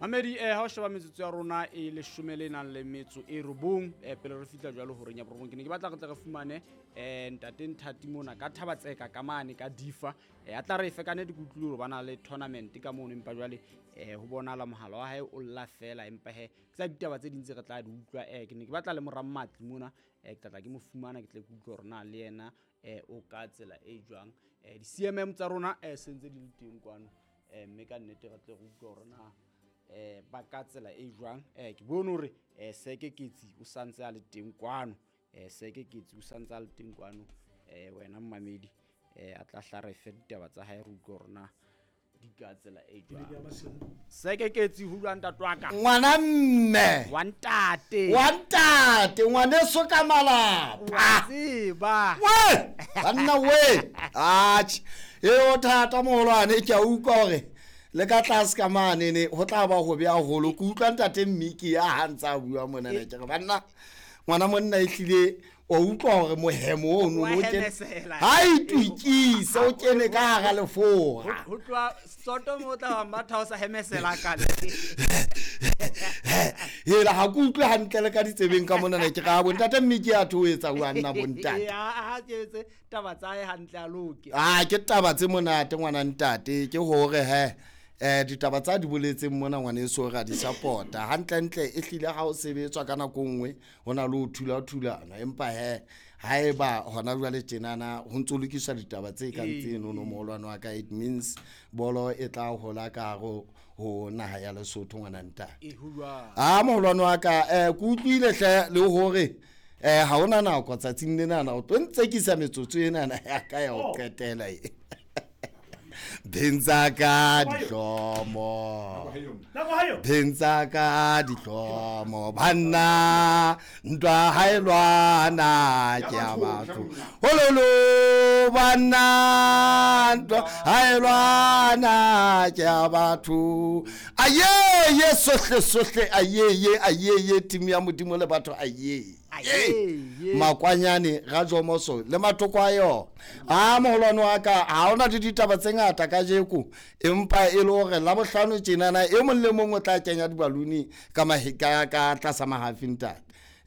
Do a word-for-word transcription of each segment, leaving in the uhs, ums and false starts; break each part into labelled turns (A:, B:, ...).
A: Mamedi eh ha o sheba metsotso ya rona e leshome le nang le metso e robong eh pele re fihla jwalo horeng ya borobong, ke ne ke batla re tle re fumane eh ntate Nthati mona ka Thabatseka ka mane ka Difa. Eh a tla re fe ka nnete, ke utlwile hore ba na le tournament ka mono, empa jwale eh ho bonahala mohala wa hae o lla fela, empa he ke tsa ditaba tse ding tse re tla di utlwa. Eh ke ne ke batla le mora Mmatli mona, eh ke tla tla ke mo fumana, ke tle ke utlwe hore na le yena eh o ka tsela e jwang. Eh di C M M tsa rona eh sentse di le teng kwano, eh mme ka nnete re tle re utlwe hore na eh ba ka tsela e jwang. Eh ke bone hore eh Seke Ketsi o santse a le teng kwano, eh Seke Ketsi o santse a le teng kwano. Eh wena mmamedi eh a tla hla re fe ditaba tsa hae, re utlwe hore na di ka tsela e jwang. Seke Ketsi ho jwang ntate wa ka?
B: Ngwana mme.
A: Wa ntate.
B: Wa ntate, ngwaneso ka malapa.
A: Wa tseba.
B: We, banna we. Atjhe, e o thata moholwane, ke a utlwa hore le ka tlase ka mane ne ho tla ba ho beha holo. Ke utlwa ntate Mmiki ya ha ntse a bua mona ne ke re banna ngwana monna e hlile o utlwa hore mohemo ono
A: Wa
B: o kene.
A: hemesela.
B: Ha itukise o kene ka hara lefora.
A: Ho tloha soto mo tla ba matha o sa hemesela ka le.
B: Hela ha ke utlwe hantle le ka ditsebeng ka mona ne ke ra bo ntate Mmiki ya thoetsa wa nna bo ntate.
A: Ya, ha ke etse taba tsa hae hantle a loke.
B: Ah, ke taba tse monate ngwana ntate, ke hore he eh ditaba tsa di boletseng mona ngwaneso ra di support-a. Hantlentle e hlile ha o sebetswa ka nako nngwe ho na le ho thula-thulana, empa he haeba hona jwale tjenana ho ntso lokiswa ditaba tse kang
A: Ee.
B: tseno no moholwane wa ka, it means bolo e tla hola ka hare ho naha ya Lesotho ngwana ntate.
A: E ho jwang?
B: Ah, moholwane wa ka, eh, ke utlwile hle le hore eh ha hona nako tsatsing lenana o tlo ntsekisa metsotso enana ya ka ya ho qetela e. Bentsa ka dihlomo. Bentsa ka dihlomo. Banna ntwa ha e lwana ke ya batho. Hololo banna ntwa ha e lwana ke ya batho. Aye ye sohle sohle aye ye aye ye team ya Modimo le batho aye.
A: Aye, ye.
B: Makwanyane ga Jomoso le matoko a yona. A moholwane wa ka ha hona le ditaba tse ngata kajeko, empa e le hore la bohlano tjenana e mong le mong o tla kenya dibaluni ka mahe-, ka, ka tlasa mahafi ntate.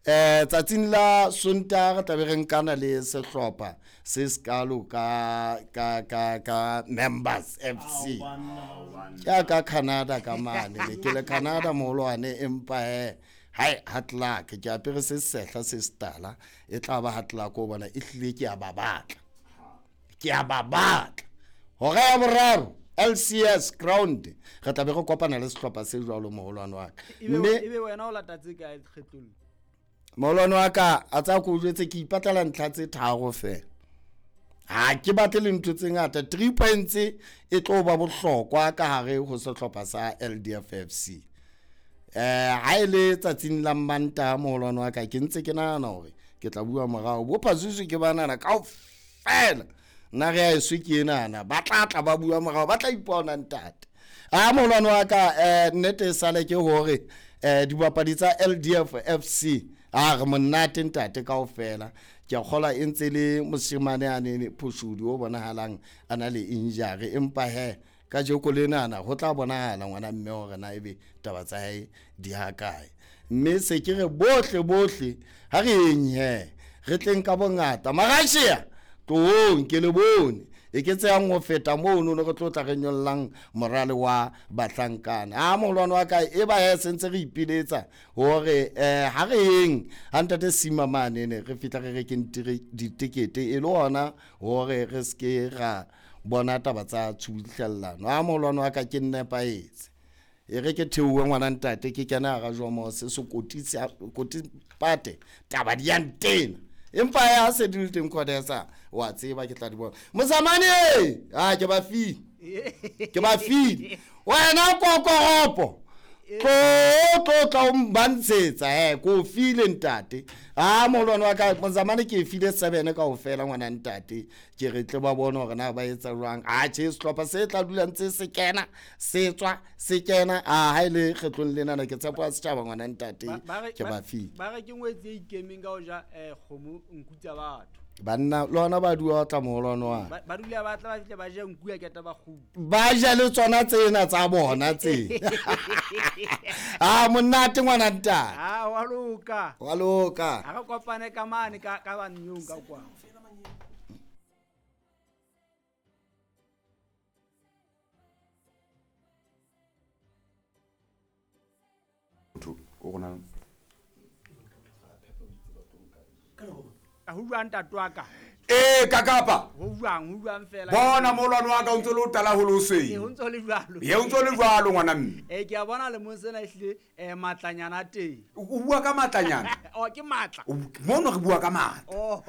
B: Eh, tsatsing la Sontaha re tla be re nkana le sehlopha se sekalo ka, ka, ka, ka Members F C. Ke ya ka Canada ka mane, ne ke le Canada moholwane, empa he hai hard luck ke apere se sehla se setala, e tla ba hard luck o bona e hlile ke a ba batla. Ke a ba batla. Hora ya boraro L C S ground re tla be re kopana le sehlopha se jwalo moholwane wa ka.
A: Ebe
B: Mme
A: ebe wena o lata tse kae kgetlong?
B: Moholwane wa ka a tsa ko jwetse ke ipatlela ntlha tse tharo fela. Ha ke batle le ntho tse ngata, three points e tlo ba bohlokwa ka hare ho sehlopha sa L D F F C. Eh, ha e le tsatsing la Mantaha moholwane wa ka ke ntse ke nahana hore ke tla bua morao. Bo Phazuzu ke banana kaofela. Nna re a eswe ke enana, ba tla tla ba bua morao, ba tla ipona ntate. A moholwane wa ka, eh, nnete e sale ke hore, eh, dibapadi tsa L D F F C, a re monate ntate kaofela. Ke a kgolwa e ntse le moshemane a ne Phoshodi o bonahalang a na le injury, empa he kajeko lenana ho tla bonahala ngwana mme hore na ebe taba tsa hae di ha kae. Mme se ke re bohle bohle ha re eng he re tleng ka bongata. Marashia tloong ke le bone e ke tseyang ho feta mono ne re tlo tla re nyollang morale wa bahlankana. A moholwane wa ka e ba he sentse re ipiletsa hore, eh, ha re eng ha ntate Sima mane ne re fihla re rekeng ditekete e le hona hore re ske ra bona taba tsa tshubuhlellano. A moholwane wa ka ke nepahetse. E re ke theohe ngwana ntate ke kena hara Jomo se sekoti se koti pate taba di ya ntena. Empa ya se di le teng Khodesa wa tseba ke tla di bona. Mozamane, ah ke ba file. Ke ba file. Wena kokoropo. Tlo tlo tla o mbantshetsa he ko file ntate. Ah moholwane wa ka Mozamane ke file seven kaofela ngwana ntate. Ke re tle ba bone hore na ba etsa jwang. Ah tjhe sehlopha se tla dula ntse se kena, se tswa, se kena. Ah ha ile kgetlong lena na ke tshepo ya setjhaba ngwana ntate.
A: Ba, ba re,
B: Ke
A: ba
B: ba file.
A: Ba re ke ngwetsi e ikemeng ka ho ja, eh, kgomo nku tsa batho.
B: Banna le ona ba dua tla moholwane wa
A: Ba ba dula ba tla ba fihle ba ja nku ya keta ba kgutla.
B: Ba ja le tsona tsena tsa bona tse. Ah, monate ngwana ntate.
A: Ah, wa loka.
B: Wa loka.
A: Ha re kopane ka mane ka ka bannyong ka kwa.
C: O rona.
A: Ho jwang ntate wa ka?
C: Ee, kakapa.
A: Ho jwang, ho jwang fela.
C: Bona moholwane wa ka o ntse le o tala ho le
A: Ee,
C: hoseng.
A: ho ntse le jwalo.
C: Ye o ntse le jwalo ngwana mme.
A: Eh, ke a bona lemong sena ehlile eh matlanyana a teng.
C: O bua ka matlanyana?
A: Oh, ke matla.
C: Mono re bua ka matla.
A: Oh.